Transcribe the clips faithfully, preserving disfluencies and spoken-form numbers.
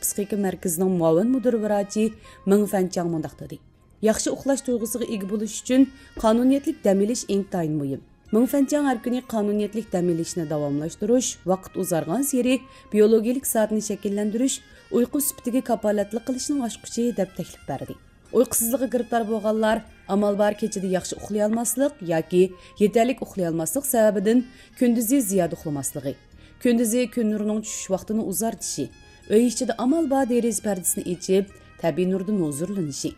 پسىخىكا مەركىزىنىڭ مۇئاۋىن مۇدىر ۋراچى مېڭ فەنچاڭ مۇنداق دېدى: ياخشى ئۇخلاش تۇيغۇسىغا ئىگە بولۇش ئۈچۈن قانۇنىيەتلىك دەم ئېلىش ئىنتايىن مۇھىم. مېڭ فەنچاڭ ھەر كۈنى قانۇنىيەتلىك دەم ئېلىشنى داۋاملاشتۇرۇش، ۋاقىت ئۇزارغانسېرى بىيولوگىيىلىك سائەتنى شەكىللەندۈرۈش، ئۇيقۇ سۈپىتىگە كاپالەتلىك قىلىشنىڭ ئاچقۇچى، دەپ تەكلىپ بەردى. ئۇيقۇسىزلىققا گىرىپتار بولغانلار ئامال بار كېچىدە ياخشى ئۇخلىيالماسلىق ياكى يېتەرلىك ئۇخلىيالماسلىق سەۋەبىدىن كۈندۈزى زىيادە ئۇخلىماسلىقى، كۈندۈزى كۈن نۇرىنىڭ چۈشۈش ۋاقتىنى ئۇزارتىشى، ئۆي ئىچىدە ئامال بار دېرىزە پەردىسىنى ئېچىپ، تەبىئىي نۇردىن ھۇزۇرلىنىشى،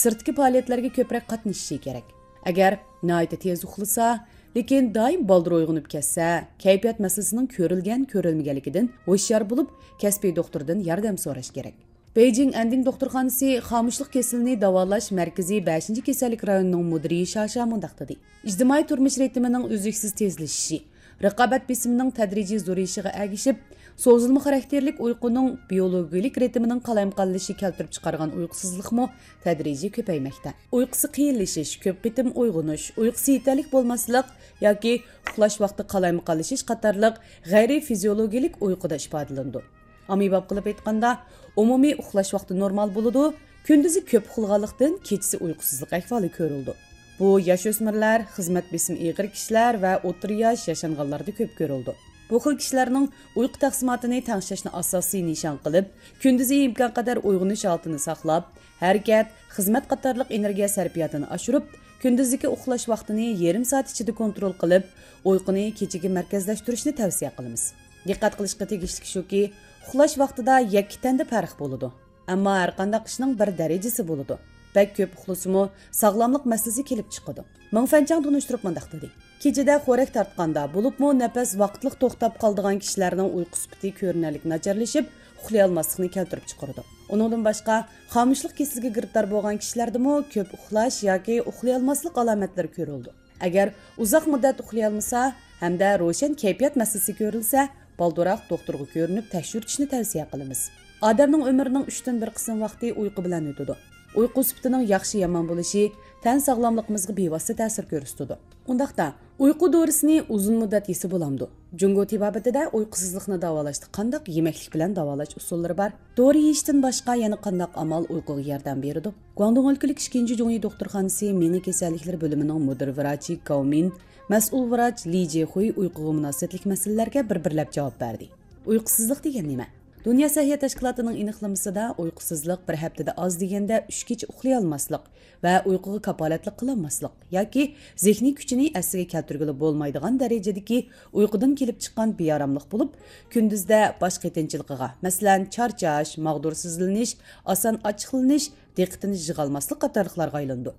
سىرتتىكى پائالىيەتلەرگە كۆپرەك قاتنىشىشى كېرەك. ئەگەر ناھايىتى تېز ئۇخلىسا، لېكىن دائىم بالدۇر ئويغىنىپ كەتسە، كەيپىيات مەسىلىسىنىڭ كۆرۈلگەن-كۆرۈلمىگەنلىكىدىن ھوشيار بولۇپ، كەسپىي دوختۇردىن ياردەم سوراش كېرەك. بېيجىڭ ئەندىڭ دوختۇرخانىسى خامۇشلۇق كېسىلىنى داۋالاش مەركىزى بەشىنچى كېسەللىك رايونىنىڭ مۇدىرى شاشا مۇنداق دېدى: ئىجتىمائىي تۇرمۇش رىتىمىنىڭ ئۈزلۈكسىز تېزلىشىشى، رىقابەت بېسىمىنىڭ تەدرىجىي زورىيىشىغا ئەگىشىپ، سوزۇلما خاراكتېرلىك ئۇيقۇنىڭ بىيولوگىيىلىك رىتىمىنىڭ قالايمىقانلىشىشى كەلتۈرۈپ چىقارغان ئۇيقۇسىزلىقمۇ تەدرىجىي كۆپەيمەكتە. ئۇيقۇسى قىيىنلىشىش، كۆپ قېتىم ئويغىنىش، ئۇيقۇسى يېتەرلىك بولماسلىق ياكى ئۇخلاش ۋاقتى قالايمىقانلىشىش قاتارلىق غەيرىي فىزىيولوگىيىلىك ئۇيقۇدا ئىپادىلىنىدۇ. ئاممىباب قىلىپ ئېيتقاندا، ئومۇمىي ئۇخلاش ۋاقتى نورمال بولىدۇ، كۈندۈزى كۆپ ئۇخلىغانلىقتىن، كېچىسى ئۇيقۇسىزلىق ئەھۋالى كۆرۈلىدۇ. بۇ ياش ئۆسمۈرلەر، خىزمەت بېسىمى ئېغىر كىشىلەر ۋە ئوتتۇرا ياش ياشانغانلاردا كۆپ كۆرۈلىدۇ. بۇ خىل كىشىلەرنىڭ ئۇيقۇ تەقسىماتىنى تەڭشەشنى ئاساسىي نىشان قىلىپ، كۈندۈزى ئىمكانقەدەر ئويغىنىش ھالىتىنى ساقلاپ، ھەرىكەت، خىزمەت قاتارلىق ئېنېرگىيە سەرپىياتىنى ئاشۇرۇپ، كۈندۈزدىكى ئۇخلاش ۋاقتىنى يېرىم سائەت ئىچىدە كونترول قىلىپ، ئۇيقۇنى كېچىگە مەركەزلەشتۈرۈشنى تەۋسىيە قىلىمىز. دىققەت قىلىشقا تېگىشلىك شۇكى، ئۇخلاش ۋاقتىدا يەككە تەندە پەرق بولىدۇ. ئەمما ھەرقانداق ئىشنىڭ بىر دەرىجىسى بولىدۇ. بەك كۆپ ئۇخلىسىمۇ ساغلاملىق مەسىلىسى كېلىپ چىقىدۇ. مېڭ فەنچاڭ تونۇشتۇرۇپ مۇنداق دېدى: كېچىدە خورەك تارتقاندا، بولۇپمۇ نەپەس ۋاقىتلىق توختاپ قالىدىغان كىشىلەرنىڭ ئۇيقۇ سۈپىتى كۆرۈنەرلىك ناچارلىشىپ، ئۇخلىيالماسلىقنى كەلتۈرۈپ چىقىرىدۇ. ئۇنىڭدىن باشقا، خامۇشلۇق كېسىلىگە گىرىپتار بولغان كىشىلەردىمۇ كۆپ ئۇخلاش ياكى ئۇخلىيالماسلىق ئالامەتلىرى كۆرۈلىدۇ. ئەگەر ئۇزاق مۇددەت ئۇخلىيالمىسا ھەمدە روشەن كەيپىيات مەسىلىسى كۆرۈلسە، بالدۇرراق دوختۇرغا كۆرۈنۈپ تەكشۈرتۈشنى تەۋسىيە قىلىمىز. ئادەمنىڭ ئۆمرىنىڭ ئۈچتىن بىر قىسىم ۋاقتى ئۇيقۇ بىلەن ئۆتىدۇ. ئۇيقۇ سۈپىتىنىڭ ياخشى يامان بولۇشى تەن ساغلاملىقىمىزغا بىۋاسىتە تەسىر كۆرسىتىدۇ. ئۇنداقتا، ئۇيقۇ دورىسىنى ئۇزۇن مۇددەت يېسە بولامدۇ؟ جۇڭگو تېبابىتىدە ئۇيقۇسىزلىقنى داۋالاشتا قانداق يېمەكلىك بىلەن داۋالاش ئۇسۇللىرى بار؟ دورا يېيىشتىن باشقا يەنە قانداق ئامال ئۇيقۇغا ياردەم بېرىدۇ؟ گۇاڭدۇڭ ئۆلكىلىك ئىككىنچى جۇڭيى دوختۇرخانىسى مېڭە كېسەللىكلىرى بۆلۈمىنىڭ مۇدىر ۋراچى گاۋ مىن، مەسئۇل ۋراچ لى جېخۇي ئۇيقۇغا مۇناسىۋەتلىك مەسىلىلەرگە بىر-بىرلەپ جاۋاب بەردى. ئۇيقۇسىزلىق دېگەن نېمە؟ دۇنيا سەھىيە تەشكىلاتىنىڭ ئېنىقلىمىسىدا، ئۇيقۇسىزلىق بىر ھەپتىدە ئاز دېگەندە ئۈچ كېچە ئۇخلىيالماسلىق ۋە ئۇيقۇغا كاپالەتلىك قىلالماسلىق ياكى زېھنىي كۈچىنى ئەسلىگە كەلتۈرگىلى بولمايدىغان دەرىجىدىكى ئۇيقۇدىن كېلىپ چىققان بىئاراملىق بولۇپ، كۈندۈزدە باش قېتىنچىلىقىغا، مەسىلەن، چارچاش، ماغدۇرسىزلىنىش، ئاسان ئاچچىقلىنىش، دىققىتىنى يىغالماسلىق قاتارلىقلارغا ئايلىنىدۇ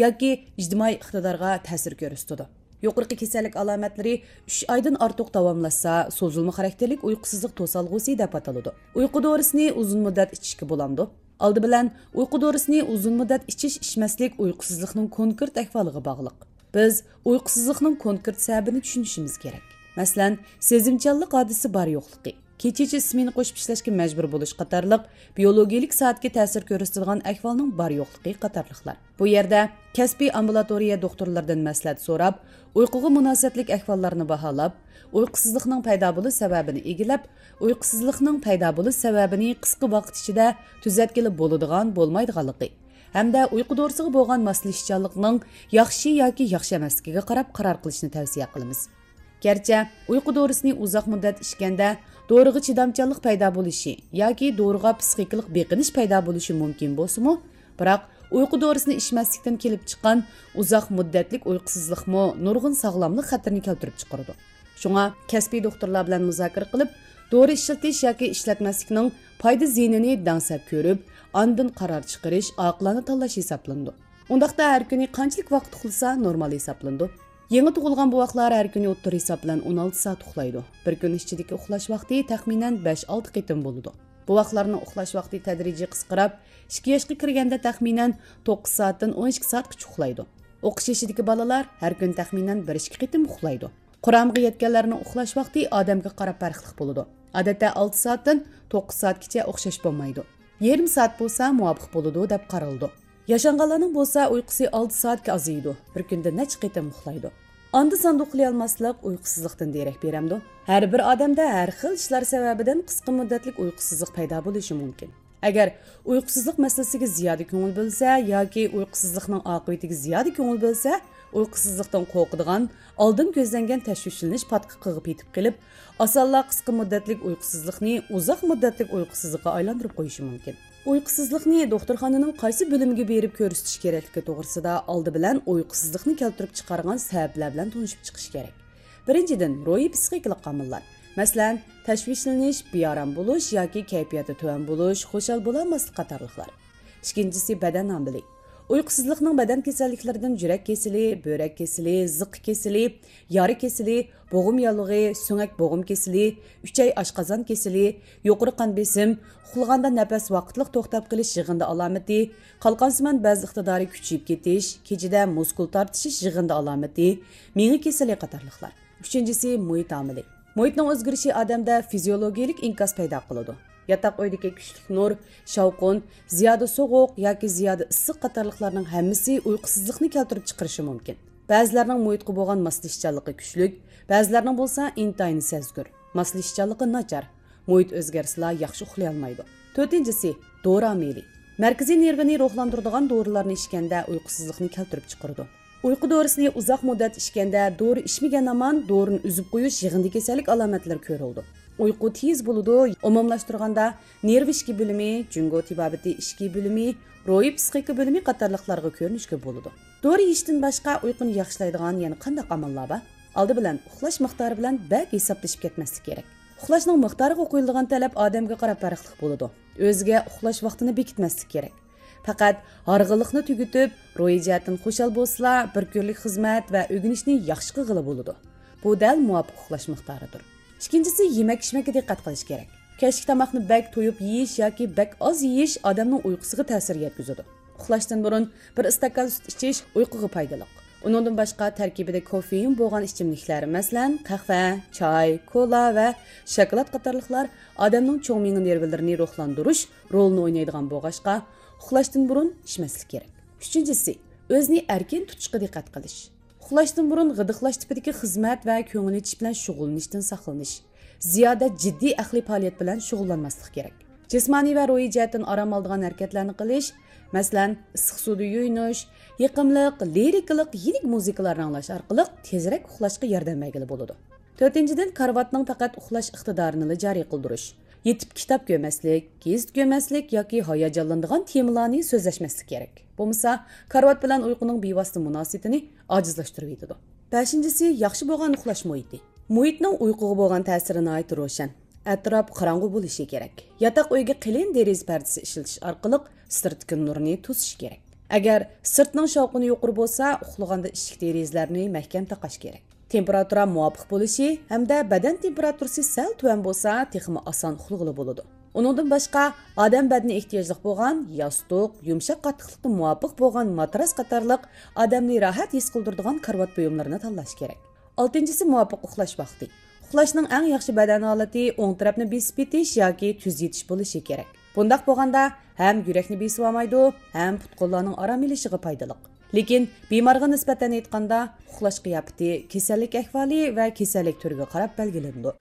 ياكى ئىجتىمائىي ئىقتىدارغا تەسىر كۆرسىتىدۇ. يۇقىرىقى كېسەللىك ئالامەتلىرى ئۈچ ئايدىن ئارتۇق داۋاملاشسا، سوزۇلما خاراكتېرلىك ئۇيقۇسىزلىق توسالغۇسى دەپ ئاتىلىدۇ. ئۇيقۇ دورىسىنى ئۇزۇن مۇددەت ئىچىشكە بولامدۇ؟ ئالدى بىلەن، ئۇيقۇ دورىسىنى ئۇزۇن مۇددەت ئىچىش-ئىچمەسلىك ئۇيقۇسىزلىقنىڭ كونكرېت ئەھۋالىغا باغلىق. بىز ئۇيقۇسىزلىقنىڭ كونكرېت سەۋەبىنى چۈشىنىشىمىز كېرەك. مەسىلەن، سېزىمچانلىق ھادىسىسى بار يوقلۇقى، كېچىچە سمېنا قوشۇپ ئىشلەشكە مەجبۇر بولۇش قاتارلىق بىيولوگىيىلىك سائەتكە تەسىر كۆرسىتىدىغان ئەھۋالنىڭ بار يوقلۇقى قاتارلىقلار. بۇ يەردە كەسپىي ئامبۇلاتورىيە دوختۇرلىرىدىن مەسلىھەت سوراپ، ئۇيقۇغا مۇناسىۋەتلىك ئەھۋاللارنى باھالاپ، ئۇيقۇسىزلىقنىڭ پەيدا بولۇش سەۋەبىنى ئىگىلەپ، ئۇيقۇسىزلىقنىڭ پەيدا بولۇش سەۋەبىنى قىسقا ۋاقىت ئىچىدە تۈزەتكىلى بولىدىغان، بولمايدىغانلىقى ھەمدە ئۇيقۇ دورىسىغا بولغان ماسلىشىشچانلىقنىڭ ياخشى ياكى ياخشى ئەمەسلىكىگە قاراپ قارار قىلىشنى تەۋسىيە قىلىمىز. گەرچە ئۇيقۇ دورىسىنى ئۇزاق مۇددەت ئىچكەندە دورىغا چىدامچانلىق پەيدا بولۇشى ياكى دورىغا پىسخىكىلىق بېقىنىش پەيدا بولۇشى مۇمكىن بولسىمۇ، بىراق ئۇيقۇ دورىسىنى ئىچمەسلىكتىن كېلىپ چىققان ئۇزاق مۇددەتلىك ئۇيقۇسىزلىقمۇ نۇرغۇن ساغلاملىق خەتىرىنى كەلتۈرۈپ چىقىرىدۇ. شۇڭا كەسپىي دوختۇرلار بىلەن مۇزاكىرە قىلىپ، دورا ئىشلىتىش ياكى ئىشلەتمەسلىكنىڭ پايدا-زىيىنىنى دەڭسەپ كۆرۈپ، ئاندىن قارار چىقىرىش ئاقىلانە تاللاش ھېسابلىنىدۇ. ئۇنداقتا ھەر كۈنى قانچىلىك ۋاقىت ئۇخلىسا نورمال ھېسابلىنىدۇ؟ يېڭى تۇغۇلغان بوۋاقلار ھەر كۈنى ئوتتۇرا ھېساب بىلەن ئون ئالتە سائەت ئۇخلايدۇ. بىر كۈن ئىچىدىكى ئۇخلاش ۋاقتى تەخمىنەن بەش-ئالتە قېتىم بولىدۇ. بوۋاقلارنىڭ ئۇخلاش ۋاقتى تەدرىجىي قىسقىراپ، ئىككى ياشقا كىرگەندە تەخمىنەن توققۇز سائەتتىن ئون ئىككى سائەتكىچە ئۇخلايدۇ. ئوقۇش يېشىدىكى بالىلار ھەر كۈنى تەخمىنەن بىر-ئىككى قېتىم ئۇخلايدۇ. قۇرامىغا يەتكەنلەرنىڭ ئۇخلاش ۋاقتى ئادەمگە قاراپ پەرقلىق بولىدۇ. ئادەتتە ئالتە سائەتتىن توققۇز سائەتكىچە ئوخشاش بولمايدۇ. يېرىم سائەت بولسا مۇۋاپىق بولىدۇ دەپ قارىلىدۇ. ياشانغانلارنىڭ بولسا ئۇيقۇسى ئالتە سائەتكە ئازىيىدۇ، بىر كۈندە نەچچە قېتىم ئۇخلايدۇ. ئاندا-ساندا ئۇخلىيالماسلىق ئۇيقۇسىزلىقتىن دېرەك بېرەمدۇ؟ ھەر بىر ئادەمدە ھەر خىل ئىشلار سەۋەبىدىن قىسقا مۇددەتلىك ئۇيقۇسىزلىق پەيدا بولۇشى مۇمكىن. ئەگەر ئۇيقۇسىزلىق مەسىلىسىگە زىيادە كۆڭۈل بۆلسە ياكى ئۇيقۇسىزلىقنىڭ ئاقىۋىتىگە زىيادە كۆڭۈل بۆلسە، ئۇيقۇسىزلىقتىن قورقىدىغان، ئالدىن كۆزلەنگەن تەشۋىشلىنىش پاتقىقىغا پېتىپ قېلىپ، ئاسانلا قىسقا مۇددەتلىك ئۇيقۇسىزلىقنى ئۇزاق مۇددەتلىك ئۇيقۇسىزلىققا ئايلاندۇرۇپ قويۇشى مۇمكىن. ئۇيقۇسىزلىقنى دوختۇرخانىنىڭ قايسى بۆلۈمىگە بېرىپ كۆرسىتىش كېرەكلىكى توغرىسىدا ئالدى بىلەن ئۇيقۇسىزلىقنى كەلتۈرۈپ چىقارغان سەۋەبلەر بىلەن تونۇشۇپ چىقىش كېرەك. بىرىنچىدىن، روھىي پسىخىكىلىق ئامىللار. مەسىلەن، تەشۋىشلىنىش، بىئارام بولۇش ياكى كەيپىياتى تۆۋەن بولۇش، خۇشال بولالماسلىق قاتارلىقلار. ئىككىنچىسى، بەدەن ئامىلى. ئۇيقۇسىزلىقنىڭ بەدەن كېسەللىكلىرىدىن يۈرەك كېسىلى، بۆرەك كېسىلى، زىققا كېسىلى، يارا كېسىلى، بوغۇم ياللۇغى، سۆڭەك بوغۇم كېسىلى، ئۈچەي ئاشقازان كېسىلى، يۇقىرى قان بېسىم، ئۇخلىغاندا نەپەس ۋاقىتلىق توختاپ قېلىش يىغىندى ئالامىتى، قالقانسىمان بەز ئىقتىدارى كۈچىيىپ كېتىش، كېچىدە مۇسكۇل تارتىشىش يىغىندى ئالامىتى، مېڭە كېسىلى قاتارلىقلار. ئۈچىنچىسى، مۇھىت ئامىلى. مۇھىتنىڭ ئۆزگىرىشى ئادەمدە فىزىيولوگىيەلىك ئىنكاس پەيدا قىلىدۇ. ياتاق ئۆيدىكى كۈچلۈك نۇر، شاۋقۇن، زىيادە سوغۇق ياكى زىيادە ئىسسىق قاتارلىقلارنىڭ ھەممىسى ئۇيقۇسىزلىقنى كەلتۈرۈپ چىقىرىشى مۇمكىن. بەزىلەرنىڭ مۇھىتقا بولغان ماسلىشىشچانلىقى كۈچلۈك، بەزىلەرنىڭ بولسا ئىنتايىن سەزگۈر، ماسلىشىشچانلىقى ناچار، مۇھىت ئۆزگەرسىلا ياخشى ئۇخلىيالمايدۇ. تۆتىنچىسى، دورا ئامىلى. مەركىزىي نېرۋىنى روھلاندۇرىدىغان دورىلارنى ئىچكەندە ئۇيقۇسىزلىقنى كەلتۈرۈپ چىقىرىدۇ. ئۇيقۇ دورىسىنى ئۇزاق مۇددەت ئىچكەندە، دورا ئىچمىگەن ھامان دورىنى ئۈزۈپ قويۇش يىغىندى كېسەللىك ئالامەتلىرى كۆرۈلىدۇ. ئۇيقۇ تېز بولىدۇ، ئومۇملاشتۇرغاندا، نېرۋا ئىچكى بۆلۈمى، جۇڭگو تېبابىتى ئىچكى بۆلۈمى، روھىي پسىخىكا بۆلۈمى قاتارلىقلارغا كۆرۈنۈشكە بولىدۇ. دورا يېيىشتىن باشقا ئۇيقۇنى ياخشىلايدىغان يەنە قانداق ئاماللار بار؟ ئالدى بىلەن ئۇخلاش مىقدارى بىلەن بەك ھېسابلىشىپ كەتمەسلىك كېرەك. ئۇخلاشنىڭ مىقدارىغا قويۇلىدىغان تەلەپ ئادەمگە قاراپ پەرقلىق بولىدۇ. ئۆزىگە ئۇخلاش ۋاقتىنى بېكىتمەسلىك كېرەك. پەقەت ھارغىنلىقنى تۈگىتىپ، روھىي جەھەتتىن خۇشال بولسىلا، بىر كۈنلۈك خىزمەت ۋە ئۆگىنىشنى ياخشى قىلغىلى بولىدۇ. بۇ دەل مۇۋاپىق ئۇخلاش مىقدارىدۇر. ئىككىنچىسى، يېمەك-ئىچمەككە دىققەت قىلىش كېرەك. كەچلىك تاماقنى بەك تويۇپ يېيىش ياكى بەك ئاز يېيىش ئادەمنىڭ ئۇيقۇسىغا تەسىر يەتكۈزىدۇ. ئۇخلاشتىن بۇرۇن بىر ئىستاكان سۈت ئىچىش ئۇيقۇغا پايدىلىق. ئۇنىڭدىن باشقا تەركىبىدە كوفېئىن بولغان ئىچىملىكلەر، مەسىلەن، قەھۋە، چاي، كولا ۋە شاكىلات قاتارلىقلار ئادەمنىڭ چوڭ مېڭە نېرۋىلىرىنى روھلاندۇرۇش رولىنى ئوينايدىغان بولغاچقا، ئۇخلاشتىن بۇرۇن ئىچمەسلىك كېرەك. ئۈچىنچىسى، ئۆزىنى ئەركىن تۇتۇشقا دىققەت قىلىش. ئۇخلاشتىن بۇرۇن غىدىقلاش تىپىدىكى خىزمەت ۋە كۆڭۈل ئېچىش بىلەن شۇغۇللىنىشتىن ساقلىنىش. زىيادە جىددىي ئەقلىي پائالىيەت بىلەن شۇغۇللانماسلىق كېرەك. جىسمانىي ۋە روھىي جەھەتتىن ئارام ئالىدىغان ھەرىكەتلەرنى قىلىش، مەسىلەن، ئىسسىق سۇدا يۇيۇنۇش، يېقىملىق، لىرىكىلىق، يېنىك مۇزىكىلارنى ئاڭلاش ئارقىلىق تېزرەك ئۇخلاشقا ياردەم بەرگىلى بولىدۇ. تۆتىنچىدىن، كارىۋاتنىڭ پەقەت ئۇخلاش ئىقتىدارىنىلا جارى قىلدۇرۇش. يېتىپ كىتاب كۆرمەسلىك، گېزىت كۆرمەسلىك ياكى ھاياجانلىنىدىغان تېمىلارنى سۆزلەشمەسلىك كېرەك. بولمىسا، كارىۋات بىلەن ئۇيقۇنىڭ بىۋاسىتە مۇناسىۋىتىنى ئاجىزلاشتۇرۇۋېتىدۇ. بەشىنچىسى، ياخشى بولغان ئۇخلاش مۇھىتى. مۇھىتنىڭ ئۇيقۇغا بولغان تەسىرى ناھايىتى روشەن. ئەتراپ قاراڭغۇ بولۇشى كېرەك. ياتاق ئۆيگە قېلىن دېرىزە پەردىسى ئىشلىتىش ئارقىلىق سىرتتىكى نۇرنى توسۇش كېرەك. ئەگەر سىرتنىڭ شاۋقۇنى يۇقىرى بولسا، ئۇخلىغاندا ئىشىك دېرىزىلەرنى مەھكەم تاقاش كېرەك. تېمپېراتۇرا مۇۋاپىق بولۇشى ھەمدە بەدەن تېمپېراتۇرىسى سەل تۆۋەن بولسا، تېخىمۇ ئاسان ئۇخلىغىلى بولىدۇ. ئۇنىڭدىن باشقا، ئادەم بەدىنى ئېھتىياجلىق بولغان ياستۇق، يۇمشاق قاتتىقلىققا مۇۋاپىق بولغان ماتراس قاتارلىق ئادەمنى راھەت ھېس قىلدۇرىدىغان كارىۋات بۇيۇملىرىنى تاللاش كېرەك. ئالتىنچىسى، مۇۋاپىق ئۇخلاش ۋاقتى. ئۇخلاشنىڭ ئەڭ ياخشى بەدەن ھالىتى ئوڭ تەرەپنى بېسىپ يېتىش ياكى تۈز يېتىش بولۇشى كېرەك. بۇنداق بولغاندا ھەم يۈرەكنى بېسىۋالمايدۇ، ھەم پۇت-قوللارنىڭ ئارام ئېلىشىغا پايدىلىق. لېكىن بىمارغا نىسبەتەن ئېيتقاندا، ئۇخلاش قىياپىتى كېسەللىك ئەھۋالى ۋە كېسەللىك تۈرىگە قاراپ بەلگىلىنىدۇ.